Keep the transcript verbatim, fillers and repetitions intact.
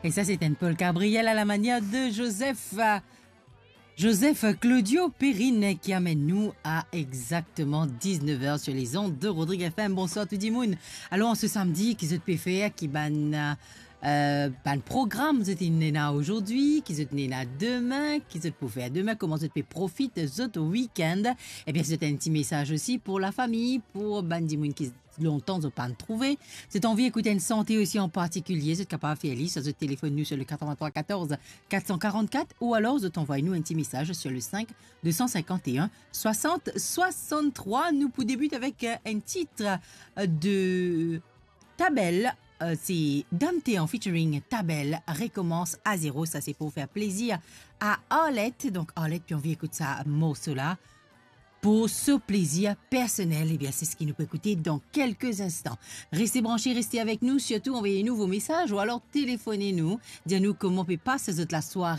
E sa, se enn polka Brel a la manier de Joseph, euh, Joseph Claudio Perrine ki amenn nou a exakteman diznef er sur les ondes de Rodrigue F M. Bonswar tou dimoun. Alor, an se samdi, ki zot pe fer, ki bann, euh, bann program zot inn ena azordi, ki zot inn ena demin, ki zot pou fer demin, kouma zot pe profit zot weekend. Ebien, zot enn ti mesaz osi pou lafami, pou bann dimoun ki lontan zot pa'nn trouve. Zot anvi ekout enn sante osi an partikilie, zot kapav fer li, swa zot telefonn nou sur le quatre-vingt-trois quatorze quatre cent quarante-quatre ou alor zot anvoy nou enn ti mesaz sur le cinq deux cent cinquante et un soixante soixante-trois. Nou pou debit avek, euh, enn tit, euh, de Tabel, euh, se Dante en featuring Tabel, Recommence à zéro. Sa se pou fer plezir a Arlette. Donk Arlette pe anvi ekout sa morso la. Pour son plaisir personnel, ebien, se seki nou pou ekoute dan kelke instan. Reste branche, reste avek nou, sirtou anvoy nou vo mesaz ou alor telefonn nou, dir nou kouma pe pas zot lasware.